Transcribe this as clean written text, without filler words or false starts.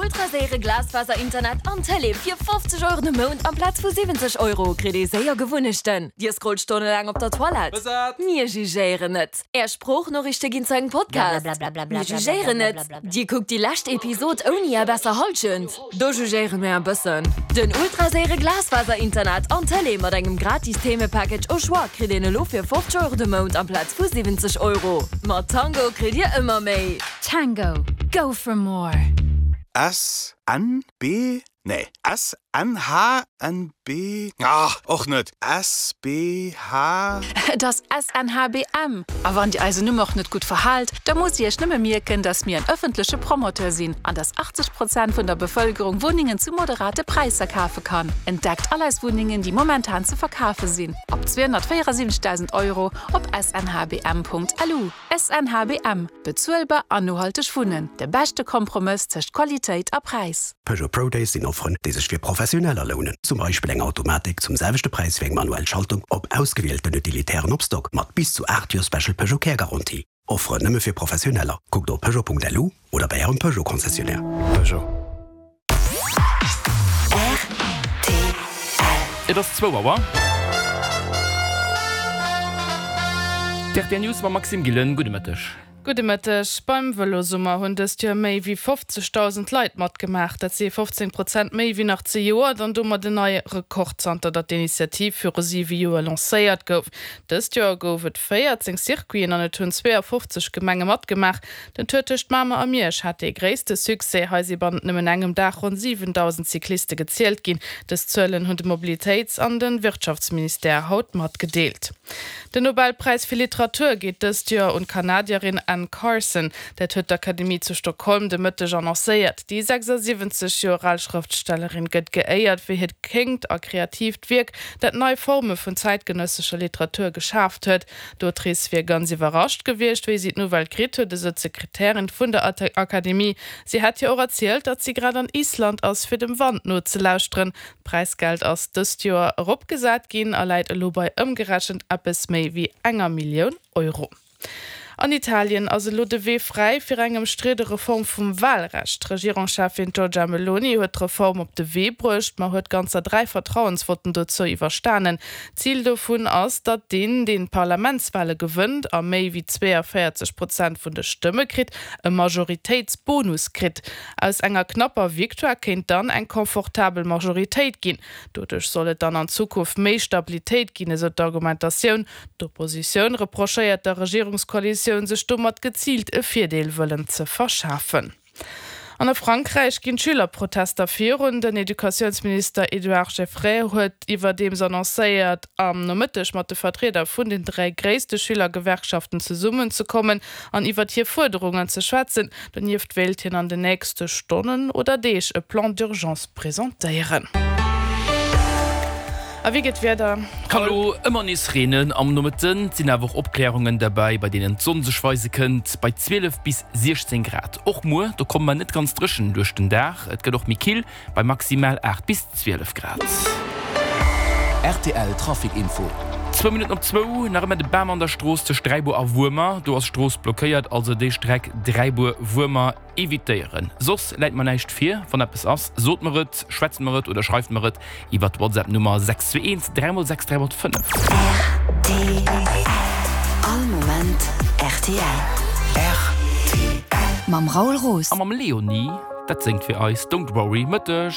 Ultraséiere Glasfaser-Internet an Tëlee fir 50 Euro de Mount amplaz vu 70 Euro kritt ee séier Gewunnechten. Dir scrollt stonnelaang op der Toilette? Mir jugéieren net. Är Sproochnoriichte ginn zu engem Podcast? Mir jugéieren net. Dir kuckt déi lescht Episod ouni är besser Hallschent? Do jugéiere mir e bëssen. Den ultraséiere Glasfaser-Internet an Tëlee mat engem gratis Themepackage au choix kritt een elo fir 50 Euro de Mount amplaz vu 70 Euro. Mat Tango kritt dir ëmmer méi. Tango, go for more! S, N, B, nee, S, N, H, N, B, ah, och net, S, B, H. Et ass SNHBM! A wann Dir eisen Numm och net gutt verhaalt, da musst Dir Iech nëmme mierken, dass mir en ëffentleche Promoteur sinn an dass 80 Prozent vun der Bevëlkerung Wunnengen zu moderate Präisser kafe kann. Entdeckt all eis Wunnengen, déi momentan ze verkafe sinn, ab 274.000 Euro op snhbm.lu. SNHBM, Bezuelbar an nohalteg Wunnen, de beschte Kompromëss tëscht Qualitéit a Präis. Peugeot Pro Days sinn Offeren, déi sech fir Professioneller lounen. Zum Beispill eng Automatik zum selwechte Präis wéi eng manuell Schaltung op ausgewielten Utilitären op Stock, mat bis zu 8 Joer Special Peugeot Care Garantie. Offeren nëmme fir Professioneller. Kuckt op peugeot.lu oder bei Ärem Peugeot Concessionnaire. Peugeot. Rtl. Et ass zwou Auer. D'RTL News mam Maxime Gillen. Gudde Mëtteg. Gudde Mëtteg. Beim Vëlosummer hunn dëst Joer méi wéi 50.000 Leit matgemaach. Dat si 15 Prozent méi wéi nach zejoert an domat en neie Rekord, zanter datt d'Initiativ viru siwe Joer lancéiert gouf. Dëst Joer gouf et 14 Circuiten an et hunn 52 Gemenge matgemaach. Den Tour tëscht Mamer a Miersch hat dee gréisste Succès. Hei si bannent nëmmen engem Dag ronn 7.000 Cycliste gezielt ginn. Dës Zuelen hunn de Mobilitéits an de Wirtschaftsministère haut matgedeelt. Den Nobelpräis fir Literatur geet dëst Joer un d'Kanadierin Anne Carson. Dat huet d'Akademie zu Stockholm de Mëtteg annoncéiert. Déi 76 Joer al Schrëftstellerin gëtt geéiert fir hiert kéngt a kreatiivt Wierk, dat nei Forme vun zäitgenëssescher Literatur geschaaft huet. D'Autrice wier ganz iwwerrascht gewiescht, wéi si d'Nouvelle kritt huet, esou d'Sekretärin vun der Akademie. Si hätt hir och erzielt, datt si grad an Island ass, fir dem Wand nozelauschteren. D'Präisgeld ass dëst Joer eropgesat ginn a läit elo bei ëmgerechent eppes méi wéi enger Millioun Euro. An Italien ass elo de Wee fräi fir eng ëmstridde Reform vum Walrecht. D'Regierungscheffin Giorgia Meloni huet d'Reform op de Wee bruecht, ma huet ganzer 3 Vertrauensvotten dozou iwwerstanen. Zil dovun ass, datt deen, deen d'Parlamentswale gewënnt a méi wéi 42 Prozent vun de Stëmme kritt, e Majoritéitsbonus kritt. Aus enger knapper Victoire kéint dann eng confortabel Majoritéit ginn. Doduerch soll et dann an Zukunft méi Stabilitéit ginn, esou d'Argumentatioun. D'Oppositioun reprochéiert der Regierungskoalitioun, sech domat geziilt e Virdeel wëllen ze verschafen. An a Frankräich ginn d'Schülerprotester virun. Den Educatiounsminister Edouard Geffray huet iwwerdeems annoncéiert, am Nomëtteg mat de Vertrieder vun den 3 gréisste Schülergewerkschaften zesummenzekommen an iwwert hir Fuerderungen ze schwätzen. Donieft wéilt hien an den nächste Stonnen oder Deeg e Plan d'urgence presentéieren. A wéi gëtt d'Wieder? Kann elo ëmmer nees reenen am Nomëtten, et sinn awer och Opkläerungen derbäi, bei deenen d'Sonn sech weise kënnt, bei 12 bis 16 Grad. Och muer, do komme mer net ganz dréchen duerch den Dag, et gëtt och méi kill, bei maximal 8 bis 12 Grad. Rtl Trafic Info. Zwou Minutten op zwou, nach ëmmer de Bam an der Strooss tëscht Dräibuer a Wuermer. Do ass d'Strooss blockéiert, also déi Streck Dräibuer-Wuermer Evitéieren. Soss läit mer näischt vir. Wann eppes ass, sot mer et, schwätzt mer et oder schreift mer et iwwer d'WhatsApp Nummer 621 3 x 6 3 x 5. Rtl. All Moment rtl. Rtl. Mam Raoul Roos. A mam Leonie, dat séngt fir eis Don't Worry. Mëtteg.